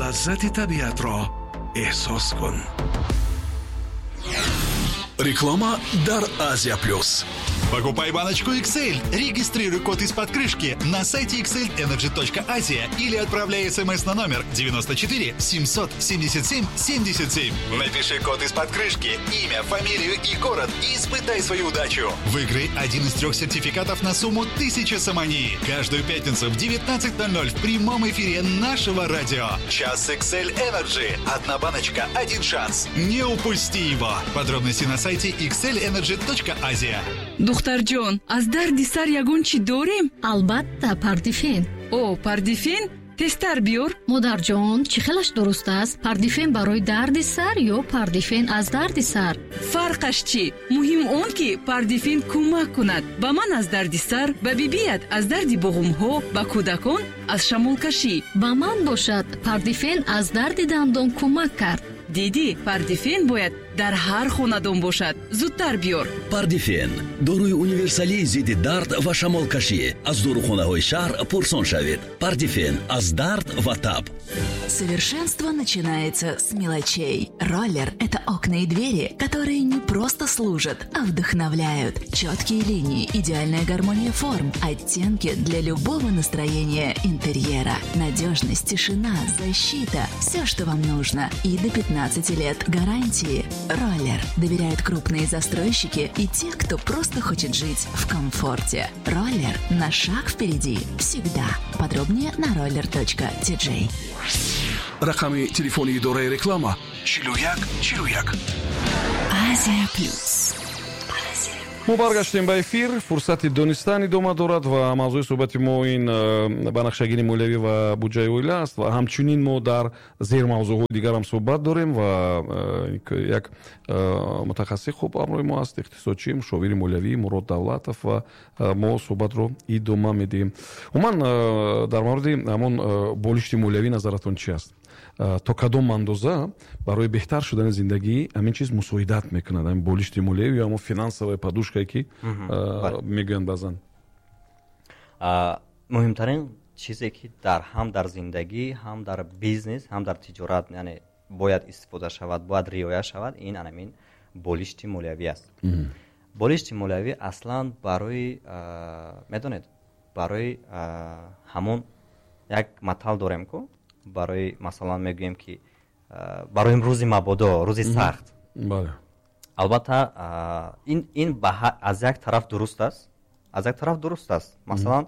Лаззати табиатро эҳсос кун. Реклама дар Азия Плюс. Покупай баночку XL, регистрируй код из-под крышки на сайте xlenergy.asia или отправляй смс на номер 94 777 77. Напиши код из-под крышки, имя, фамилию и город и испытай свою удачу. Выиграй один из трех сертификатов на сумму 1000 сомони. Каждую пятницу в 19:00 в прямом эфире нашего радио. Час XL Energy. Одна баночка, один шанс. Не упусти его. Подробности на сайте xlenergy.asia. Духтарҷон, аз дарди сар ягон чӣ дорем? Албатта, Пардифен. О, Пардифен, тезтар биёр. Модарҷон, чӣ хелаш дуруст аст? Пардифен барои дарди сар ё Пардифен аз дарди сар? Фарқаш чӣ? Муҳим он, ки Пардифен кӯмак кунад. Ба ман аз дарди сар, ба бибият аз дарди буғумҳо, ба кӯдакон аз шамолкашӣ. Ба ман бошад, Пардифен аз дарди дандон кӯмак кард. Дидӣ, Пардифен бояд дар ҳар хонадон бошад. Зудтар биёр. Пардифен, доруи универсалии зидди дард ва шамолкашӣ. Аз дорухонаҳои шаҳр пурсон шавед. Пардифен аз дард ва таб. Совершенство начинается с мелочей. Роллер – это окна и двери, которые не просто служат, а вдохновляют. Четкие линии, идеальная гармония форм, оттенки для любого настроения интерьера. Надежность, тишина, защита – все, что вам нужно. И до 15 лет гарантии. Роллер. Доверяют крупные застройщики и те, кто просто хочет жить в комфорте. Роллер на шаг впереди всегда. Подробнее на roller.tj. Рақами телефони идораи реклама: 41 41. Азия Плюс. Мо баргаштем ба эфир. Фурсати донистан идома дорад ва мавзӯи суҳбати мо ин банақшагирии молиявӣ ва буҷаи оила аст ва ҳамчунин мо дар зермавзӯъҳои дигарам суҳбат дорем ва як мутахассиси хуб ҳамроҳи мо аст, иқтисодчӣ, мушовири молиявӣ Мурод Давлатов, ва мо суҳбатро идома медиҳем. Умуман, дар мавриди ҳамон болишти молиявӣ назаратон чи аст? То кадом андоза барои беҳтар шудани зиндагӣ ҳамин чиз мусоидат мекунад, ҳамин болишти молиявӣ ё ҳамон финансовая подушкае, ки мегӯянд баъзан? Муҳимтарин чизе, ки дар ҳам дар зиндагӣ, ҳам дар бизнес, ҳам дар тиҷорат, яъне бояд истифода шавад, бояд риоя шавад, ин анамин болишти молиявӣ аст. Болишти молиявӣ аслан барои, медонед, барои ҳамон як матал дорем ку, барои, масалан, мегӯем, ки барои рӯзи мабодо, рӯзи сахт. Албатта, ин аз як тараф дуруст аст, аз як тараф дуруст аст. Масалан,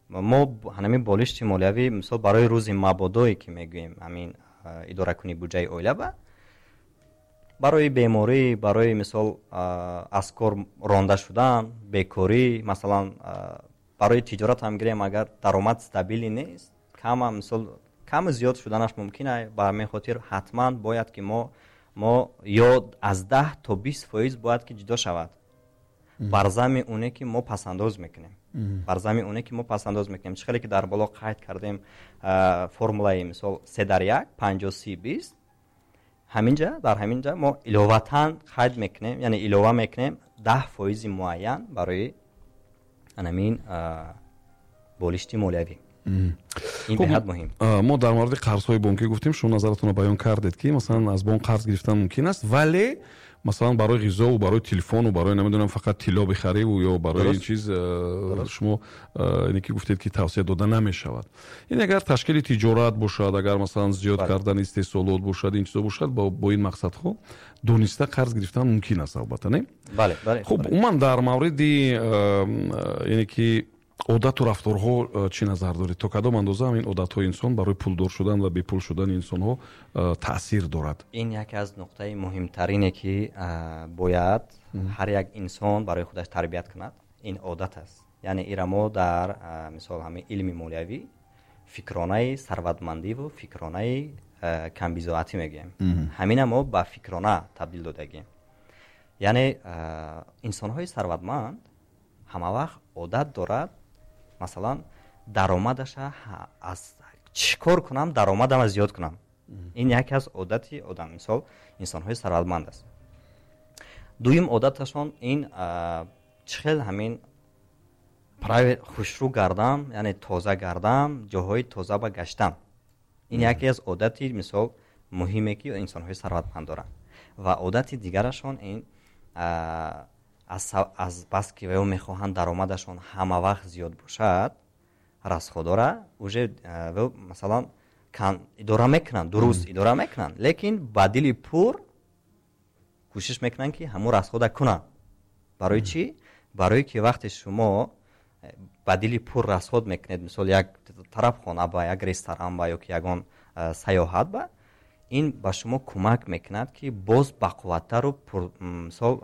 мо ҳамин болишти молиявӣ, мисол, барои рӯзи мабодое ки мегӯем, ҳамин идоракунии буҷаи оила ба барои беморӣ, барои, мисол, аз кор ронда шудан, бекорӣ, масалан, барои тиҷорат ҳам гирем, агар даромад стабилӣ нест, кама, мисол, кам зиёд шуданаш мумкин аст. Ба ҳамин хотир ҳатман бояд ки мо ё аз 10 то 20% бояд ки ҷудо шавад бар зами оне, ки мо пасандоз мекунем, бар зами оне, ки мо пасандоз мекунем. Чӣ хеле ки дар боло қайд кардем, формулаи, мисол, 3 дар 1, 50, 30, 20, ҳаминҷа, дар ҳаминҷа мо иловатан қайд мекунем, яъне илова мекунем 10 фоизи муайян барои анамин болишти молиявӣ. Ин беҳад муҳим. Мо дар мавриди қарзҳои бонкӣ гуфтем, шумо назаратонро баён кардед, ки масалан аз бонк қарз гирифтан мумкин аст, вале масалан барои ғизову барои телефону барои, намедонам, фақат тилло бихариву ё барои ин чиз шумо ине ки гуфтед, ки тавсия дода намешавад. Ин агар ташкили тиҷорат бошад, агар масалан зиёд кардани истеҳсолот бошад, ин чизо бошад, бо ин мақсадҳо дониста қарз гирифтан мумкин аст, албатта, не? Бале. Хуб, умуман дар мавриди ине ки одату рафторҳо чӣ назар доред? То кадом андоза ҳамин одатҳои инсон барои пулдор шудан ва бепул шудани инсонҳо таъсир дорад? Ин яке аз нуқтаи муҳимтарине, ки бояд ҳар як инсон барои худаш тарбият кунад, ин одат аст. Яъне ира мо дар, мисол, ҳамин илми молиявӣ фикронаи сарватмандиву фикронаи камбизоатӣ мегӯем. Ҳамина мо ба фикрона табдил додагем. Яъне инсонҳои сарватманд ҳама вақт одат дорад, масалан, даромадаша аз чӣ кор кунам, даромадама зиёд кунам. Ин яке аз одати одам, мисол, инсонҳои сарватманд аст. Дуюм одаташон ин чӣ хел ҳамин хушрӯ гардам, яъне тоза гардам, ҷоҳои тоза ба гаштам. Ин яке аз одати, мисол, муҳиме, ки инсонҳои сарватманд доранд. Ва одати дигарашон ин аз бас ки ваё мехоҳанд даромадашон ҳама вақт зиёд бошад, расходора уже масалан идора мекунанд, дуруст идора мекунанд, лекин ба дили пур кӯшиш мекунанд, ки ҳамун расхода кунанд. Барои чӣ? Барое ки вақте шумо ба дили пур расход мекунед, мисол, як тарабхона ба, як ресторан ба ё ки ягон саёҳат ба, ин ба шумо кӯмак мекунад, ки боз бақувваттару, мисол,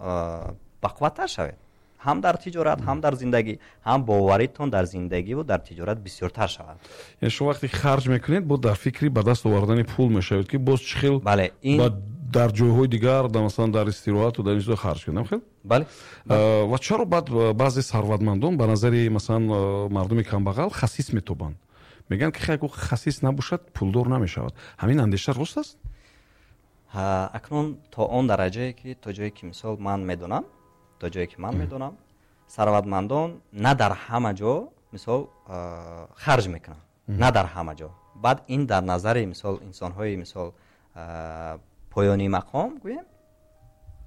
бақувваттар шавед, ҳам дар тиҷорат, ҳам дар зиндагӣ, ҳам боваритон дар зиндагиву дар тиҷорат бисёртар шавад. Яъне шумо вақте харҷ мекунед, боз дар фикри ба даст овардани пул мешавед, ки боз чӣ хел дар ҷойҳои дигар, масалан, дар истироҳату дар ин чизо харҷ кунем, хел? Бале. Ва чаро баъд баъзе сарватмандон ба назари, масалан, мардуми камбағал хасис метобанд? Мегӯянд, ки хай, хасис набошад, пулдор намешавад. Ҳамин андеша рост аст? Акнун то он дараҷае ки, то ҷое ки, мисол, ман медонам, то ҷое ки ман медонам, сарватмандон на дар ҳама ҷо, мисол, харҷ мекунанд, на дар ҳама ҷо. Баъд ин дар назари, мисол, инсонҳои, мисол, поёнии мақом гӯем,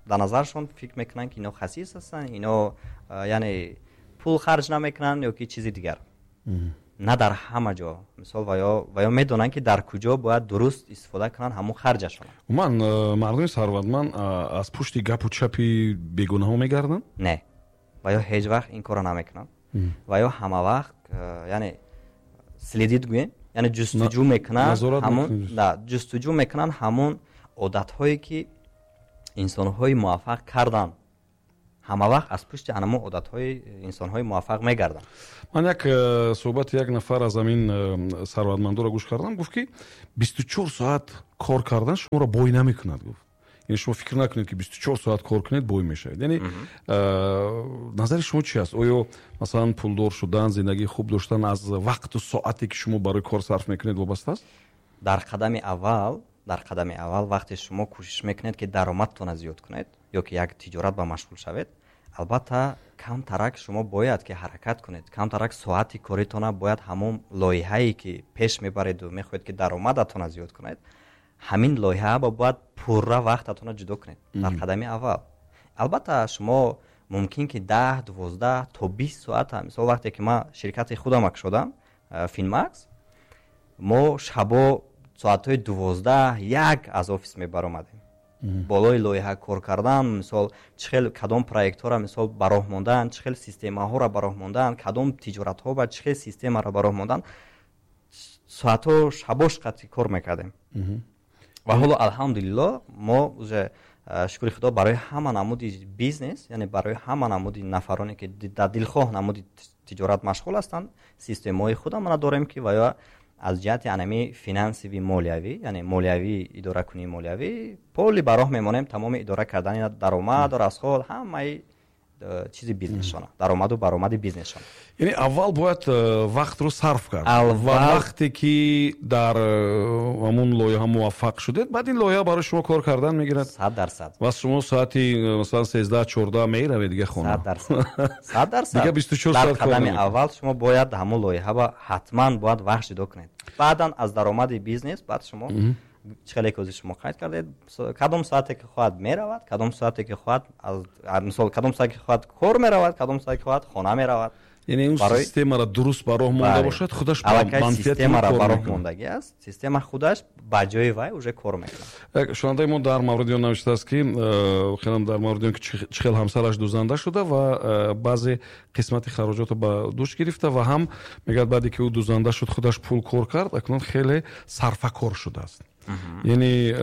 дар назаршон фикр мекунанд, ки ино хасис ҳастанд, ино яъне пул харҷ намекунанд ё ки чизи дигар. На дар ҳама ҷо, мисол, ва ё медонанд, ки дар куҷо бояд дуруст истифода кунанд ҳамун харҷашон. Умуман, мардуми сарватманд аз пушти гапу чапи бегунаҳо мегарданд? Не, ва ё ҳеҷ вақт ин корро намекунанд. Ва ё ҳама вақт, яъне, следить гӯем, яъне ҷустуҷӯ мекунанд ҳамун, ҷустуҷӯ мекунанд ҳамун одатҳое, ки инсонҳои муваффақ карданд. Ҳама вақт аз пушти анамун одатҳои инсонҳои муваффақ мегарданд. Ман як суҳбати як нафар аз ҳамин сарватмандоро гӯш кардам. Гуфт, ки 24 соат кор кардан шуморо бой намекунад, гуфт. Яъне шумо фикр накунед, ки 24 соат кор кунед, бой мешавед. Яъне назари шумо чи аст? Оё, масалан, пулдор шудан, зиндагии хуб доштан аз вақту соате, ки шумо барои кор сарф мекунед, вобаста аст? Дар қадами аввал, вақте шумо кӯшиш мекунед, ки даромадтонро зиёд кунед ё ки як тиҷорат ба машғул шавед, албатта, камтарак шумо бояд ки ҳаракат кунед, камтарак соати коритона бояд ҳамон лоиҳае, ки пеш мебареду мехоҳед, ки даромадатонро зиёд кунед, ҳамин лоиҳа ба бояд пурра вақтатонро ҷудо кунед. Дар қадами аввал, албатта, шумо мумкин ки 10, 12 то 20 соата. Мисол, вақте ки ман ширкати худам кушодам, Финмакс, мо шабо соатҳои 12, 1 аз офис мебаромадем, болои лоиҳа кор кардан. Мисол, чӣ хел кадом проектҳоро, мисол, ба роҳ мондан, чӣ хел системаҳоро ба роҳ мондан, кадом тиҷоратҳо ба чӣ хел системаро ба роҳ мондан, соатҳо шабош қатъи кор мекардем. Ва ҳоло, алҳамдулилло, мо уже, шукри худо, барои ҳама намуди бизнес, яъне барои ҳама намуди нафароне, ки дар дилхоҳ намуди тиҷорат машғул ҳастанд, системаҳои худамона дорем, ки ва ё аз ҷиҳати анами финансовый, молиявӣ, яъне молиявӣ, идоракунии молиявӣ поли ба роҳ мемонем, тамоми идора кардани даромаду расход, ҳамаи чизи бизнесшона, даромаду баромади бизнесшона. Яъне аввал бояд вақтро сарф кард ва вақте ки дар ҳамун лоиҳа муваффақ шудед, баъд ин лоиҳа барои шумо кор кардан мегирад. 100%. Ва шумо соати, масалан, 13, 14 меравед дига хона. 100%, 100%. Дига 24 Дар соат кор қадами намекунед. аввал шумо бояд ҳамун лоиҳа ба ҳатман бояд вақт ҷудо кунед. Баъдан аз даромади бизнес баъд шумо, чӣ хеле ки ҳозир шумо қайд кардед, кадом соате ки хоҳад меравад, кадом соате ки хоҳад мисол, кадом соате ки хоҳад кор меравад, кадом соате ки хоҳад хона меравад. Яъне он системаро дуруст ба роҳ монда бошад, худаш ба Аллакай манфиати ӯ системаро кор ба роҳ мекунад. мондагӣ аст, система худаш ба ҷои вай уже кор мекунад. Як шунавандаи мо дар мавриди он навиштааст, ки хелам дар мавриди он ки чӣ хел ҳамсараш дузанда шуда ва баъзе қисмати хароҷотро ба дӯш гирифта, ва ҳам мегӯяд, баъде ки ӯ дузанда шуд, худаш пул кор кард, акнун хеле сарфакор шудааст. Яъне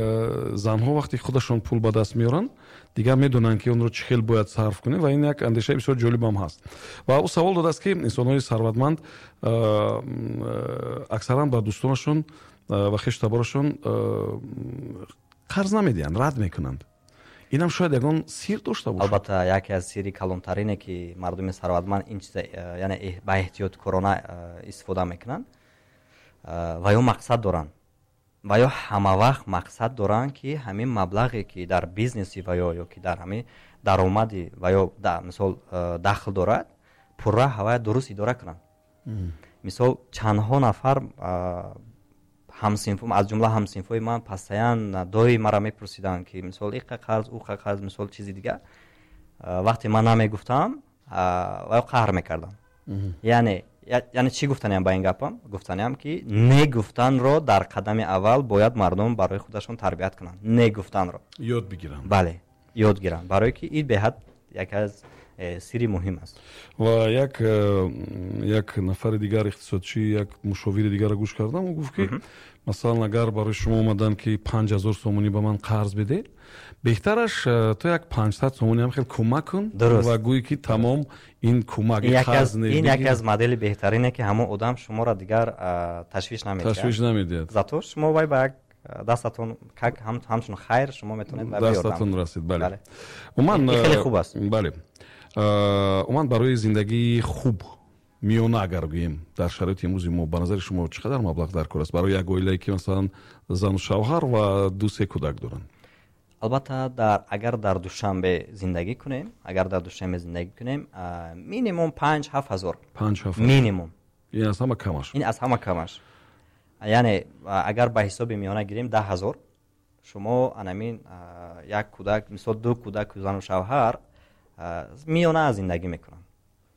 занҳо вақте худашон пул ба даст меоранд, дигар медонанд, ки онро чӣ хел бояд сарф кунем, ва ин як андешаи бисёр ҷолибам ҳаст. Ва ӯ савол додааст, ки инсонҳои сарватманд аксаран ба дӯстонашон ва хештаборашон қарз намедиҳанд, рад мекунанд. Инам шояд ягон сир дошта бошад. Албатта, яке аз сири калонтарине, ки мардуми сарватманд ин чиза яъне ба эҳтиёткорона истифода мекунанд, ва ё мақсад доранд, ва ё ҳама вақт мақсад доранд, ки ҳамин маблағе, ки дар бизнеси ва ё ки дар ҳамин даромади ва ё мисол дахл дорад, пурра ҳавая дуруст идора кунанд. Мисол, чандҳо нафар Ҳамсинф, аз ҷумла ҳамсинфҳои ман постоянно дои мара мепурсиданд, ки мисол иқа қарз, уқа қарз, мисол чизи дигар. Вақте ман намегуфтам, ва қаҳр мекардам. Яъне чӣ гуфтаниям ба ин гапам? Гуфтаниям, ки не гуфтанро дар қадами аввал бояд мардум барои худашон тарбият кунанд, не гуфтанро ёд бигиранд. Бале, ёд гиранд, барое ки ин беҳад яке аз сири муҳим аст. Ва як нафари дигар, иқтисодчӣ, як мушовири дигарро гӯш кардам, ӯ гуфт, ки масалан, агар барои шумо омаданд, ки 5000 сомонӣ ба ман қарз бидед, беҳтараш то як 500 сомонӣ ҳам хел кӯмак кун ва гӯй, ки тамом, ин кӯмак. Ин яке аз модели беҳтарине, ки ҳамон одам шуморо дигар ташвиш намедиҳад. Ташвиш намедиҳад. Зато шумо вай ба як дастатон, как ҳамчун хайр, шумо метавонед. Дастатон расид, бале. Умуман хеле хуб аст. Бале, умуман барои зиндагии хуб, миёна агар гӯем, дар шароити имрӯзи мо, ба назари шумо чӣ қадар маблағ дар кор аст барои як оилае, ки масалан зану шавҳар ва ду-се кӯдак доранд? Албатта, агар дар Душанбе зиндагӣ кунем, агар дар Душанбе зиндагӣ кунем, минимум 5-7 ҳазор. 5-7. Минимум. Ин аз ҳама камаш. Ин аз ҳама камаш. Яъне агар ба ҳисоби миёна гирем, 10 000, шумо анамин як кӯдак, мисол ду кӯдак, зану шавҳар миёна зиндагӣ мекунанд,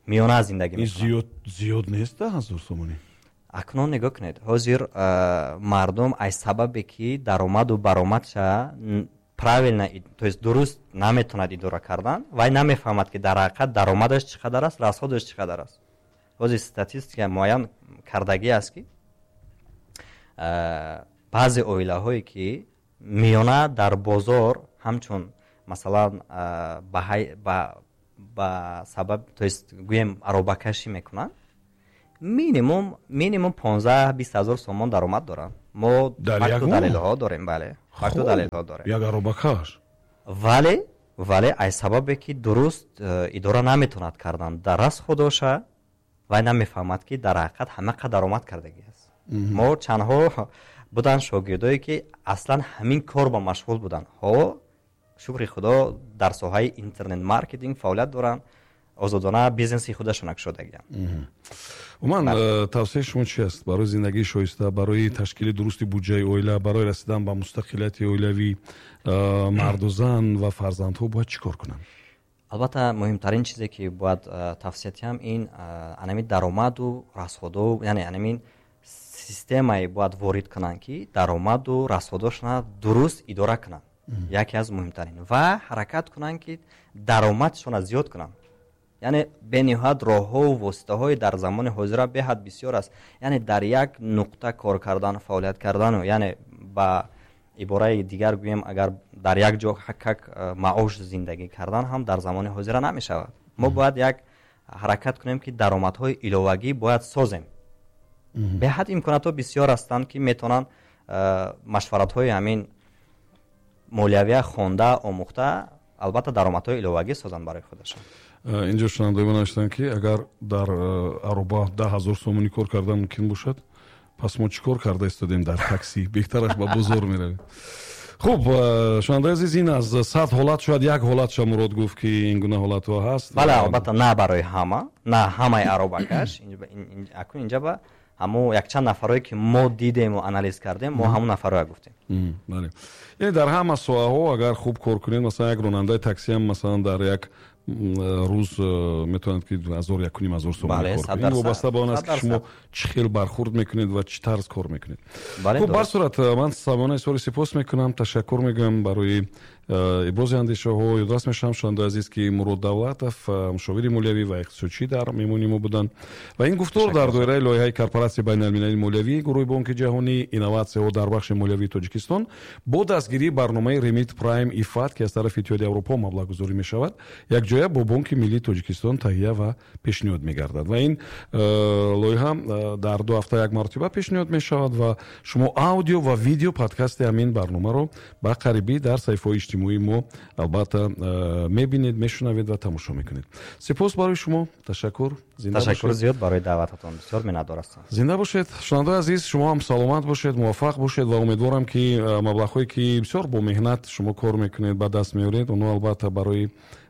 миёна зиндагӣ. Зиёд, зиёд нест 10 000 сомонӣ? Акнун нигоҳ кунед, ҳозир мардум аз сабабе ки даромаду баромадша правильно, то есть дуруст наметавонад идора кардан, вай намефаҳмад, ки дар ҳақиқат даромадаш чӣ қадар аст, расходаш чӣ қадар аст. Ҳозир статистика муайян кардагӣ аст, ки баъзе оилаҳое, ки миёна дар бозор ҳамчун масалан ба сабаб, то есть гӯем, аробакашӣ мекунанд, минимум 15-20 ҳазор сомон даромад доранд. Мо факту далелҳо дорем, бале, факту далелҳо дорем. Як аробакаш. Вале аз сабабе ки дуруст идора наметавонад кардан дар расходоша, вай намефаҳмад, ки дар ҳақиқат ҳамақа даромад кардагӣ аст. Мо чандҳо буданд шогирдое, ки аслан ҳамин кор ба машғул буданд. Ҳо, шукри худо, дар соҳаи интернет маркетинг фаъолият доранд, озодона бизнеси худашона кушодагианд. Умуман, тавсияи шумо чи аст барои зиндагии шоиста, барои ташкили дурусти буҷаи оила, барои расидан ба мустақилияти оилавӣ? Марду зан ва фарзандҳо бояд чӣ кор кунанд? Албатта, муҳимтарин чизе, ки бояд тавсия диҳам, ин анами даромаду расходо, яъне анамин системае бояд ворид кунанд, ки даромаду расходошона дуруст идора кунанд, яке аз муҳимтарин, ва ҳаракат кунанд, ки даромадшона зиёд кунанд. Яъне бениҳоят роҳҳову воситаҳои дар замони ҳозира беҳад бисёр аст. Яъне дар як нуқта кор кардан, фаъолият кардану, яъне ба ибораи дигар гӯем, агар дар як ҷо как маош зиндагӣ кардан ҳам дар замони ҳозира намешавад. Мо бояд як ҳаракат кунем, ки даромадҳои иловагӣ бояд созем. Беҳад имконотҳо бисёр ҳастанд, ки метавонанд машваратҳои ҳамин молиявия хонда, омӯхта, албатта даромадҳои иловагӣ созанд барои худашон. Инҷо шунавандаи мо навиштанд, ки агар дар ароба 10 000 сомонӣ кор кардан мумкин бошад, пас мо чӣ кор карда истодем дар таксӣ? Беҳтараш ба бозор меравем. Хуб, шунавандаи азиз, ин аз 100 ҳолат шояд як ҳолатша Мурод гуфт, ки ин гуна ҳолатҳо ҳаст. Бале, албатта, на барои ҳама, на ҳамаи аробакаш. Акун инҷа ба ҳамо якчанд нафарое, ки мо дидему анализ кардем, мо ҳамон нафарое гуфтем. Бале, яъне дар ҳама соҳаҳо агар хуб кор кунед, масалан, як ронандаи таксиам, масалан, дар як рӯз метавонад, ки ҳазор, 1,5 ҳазор сомонӣ кор кунед. Ин вобаста ба он аст, ки шумо чӣ хел бархурд мекунед ва чӣ тарз кор мекунед. Хуб, бар сурат, ман самона изҳори сипос мекунам, ташаккур мегӯям барои ибрози андешаҳо. Ёдрас мешавам, шунавандаи азиз, ки Мурод Давлатов, мушовири молиявӣ ва иқтисодчӣ, дар меҳмони мо буданд ва ин гуфтор дар доираи лоиҳаи Корпоратсияи байналмилалии молиявии гурӯҳи Бонки Ҷаҳонӣ «Инноватсияҳо дар бахши молиявии Тоҷикистон» бо дастгирии барномаи Ремит Прайм ИФАД, ки аз тарафи Иттиҳоди Аврупо маблағгузорӣ мешавад, якҷоя бо Бонки Миллии Тоҷикистон таҳия ва пешниҳод мегардад. Ва ин лоиҳа дар 2 ҳафта як маротиба пешниҳод мешавад ва шумо аудио ва видео подкасти ҳамин барномаро ба қарибӣ дар саҳифаҳои иҷтимоии мо албатта мебинед, мешунавед ва тамошо мекунед. Сипос барои шумо, ташаккур. Ташаккур зиёд барои даъвататон, бисёр миннатдор ҳастам. Зинда бошед. Шунавандаи азиз, шумо ҳам саломат бошед, муваффақ бошед ва умедворам, ки маблағҳое, ки бисёр бо меҳнат шумо кор мекунед, ба даст меоред, онҳо албатта барои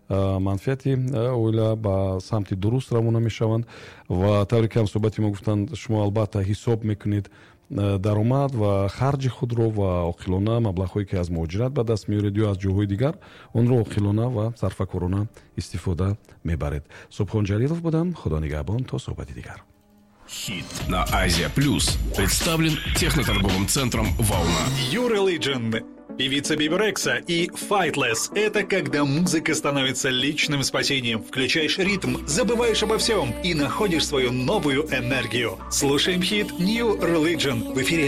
манфиати оила ба самти дуруст равона мешаванд. Ва тавре ки ҳамсӯҳбати мо гуфтанд, шумо албатта ҳисоб мекунед. Даромад ва харҷи худро ва оқилона маблағҳое, ки аз муҳоҷират ба даст меоред ё аз ҷойҳои дигар, онро оқилона ва сарфакорона истифода мебаред. Субҳон Ҷалилов будам. Худо нигаҳбон, то суҳбати дигар. Хит на Азия Плюс представлен техноторговым центром «Волна». New Religion, певица Биби Рекса и Fightless – это когда музыка становится личным спасением. Включаешь ритм, забываешь обо всем и находишь свою новую энергию. Слушаем хит New Religion в эфире.